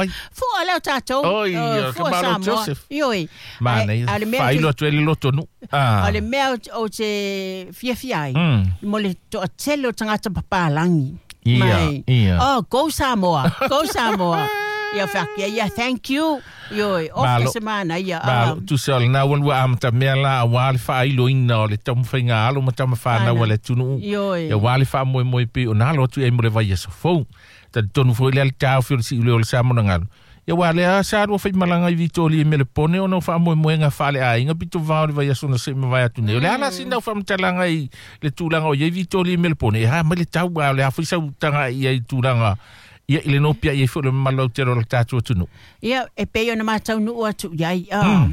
Ai. Fua lea o tatou. Oi, Oh, o fua te malo Samoa. Joseph. Ioe. Manaia. A le mea Faailo atu ai le lotonuu. Ah. O le mea ou te fiafia ai, mo le toatele o tagata papalagi. Ia, Mai, ia. Oh, go Samoa, go Samoa. Ia whakia, ia, thank you. Ioe, ofe Malo. se mana, ia. Malo, tusa o lena ua lua amatamea la auā le faailoina o le taumafaiga alo ma tamafanau a le atunuu. Ioe. Ia auā le faamoemoe pei ona alo atu i ai mo le vaiaso fou. Talitonu foi lea le taofi o le siuleo o le Samonagalu. Ia aua lea sa lua faimalaga i Vitoria i Melepone ona o faamoemoega faaleaiga pito vao le vaiaso na se'i mavae atu nei. O le a la sina au faamatalaga i le tulaga o iai Vitoria i Melepone, e a mai le tau a o le a foi sau taga'i ai i tulaga ia i le nopia'i ai foi o le mamalu autele o le tatou atunuu. Ia, e pei ona mataunuu atu i ai. Ah.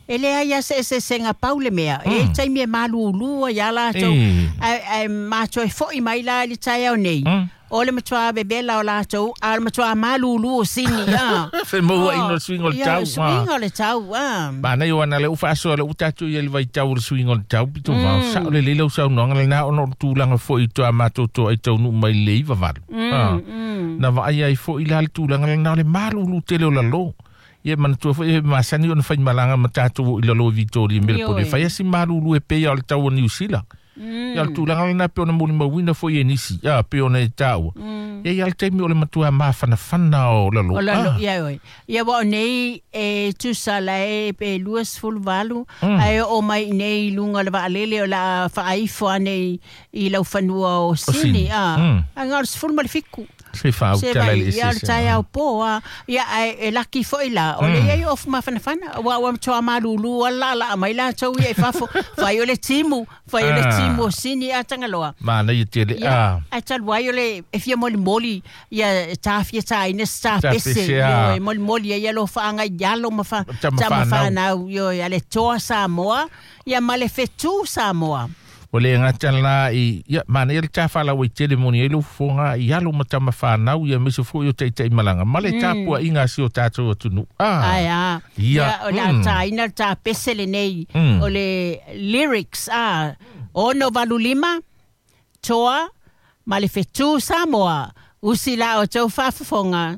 E leai a se eseesega pau le mea. E iai taimi e malūlū ai a latou. Ae, ae matou e fo'i mai la i le taeao nei. O le matuā vevela o latou, a o le matuā malūlū o sini, ah. Femauaiga o le suiga o le Ia, tau, le suiga o le tau, ah. Manaia o ana lea ua faasoa lea ua tatou i ai le vaitau o le suiga o le tau pito vao. Sao lelei lau saunoaga lena ona o le tulaga foi i toa matou toa i taunuu mai i le 98. Na vaai ai foi la le tulaga lena o le malulu tele o lalo. Ia manatua foi e masani ona faimalaga ma tatou i lalo i Vitoria i Melepone. Ioe. Fai a si malulu e pei o le tau o Niu Sila. Ia o le tulaga lena pe ona molimauina foi e nisi, a pe ona e taua. Ia i a le taimi o le matua mafanafana o lalo. O lalo, Ah. ia oi. Ia wa o nei e tusa la e pe 28, ae o mai nei i lunga o le vaalele o la faaifo ane i lau fanua o Sini. Sini. Ah. A ngā o le 17. Se Se faautala vai, i le ia o le eseese. taeao po, ah. Ia, ae e laki foi la. O le iai o mafanafana, ua ua matua malulu, a la la mai latou ia i fafo. Fai o le timu, fai o le timu o Sini a Tangaloa. Manaia tele. Ia, Ah. ae talu ai o le e fia molimoli ia tafia taina se tapese Tapese, ah. ioe molimoli ai ia lo faaga i alo ma fa Tamafanau. tamafanau ioe a le toa Samoa ia ma le fetu Samoa. Ua le gata la i ia manaia le tafalau ai tele moni ai lou fofoga i alo ma tamafanau ia aemaise foi o taitaimalaga ma le tapuaʻiga a si o tatou atunuu. Ae a. Ia. Ia o le a taina le tapese lenei o le lyrics a 685 toa ma le fetu Samoa usi la o tou faafofoga.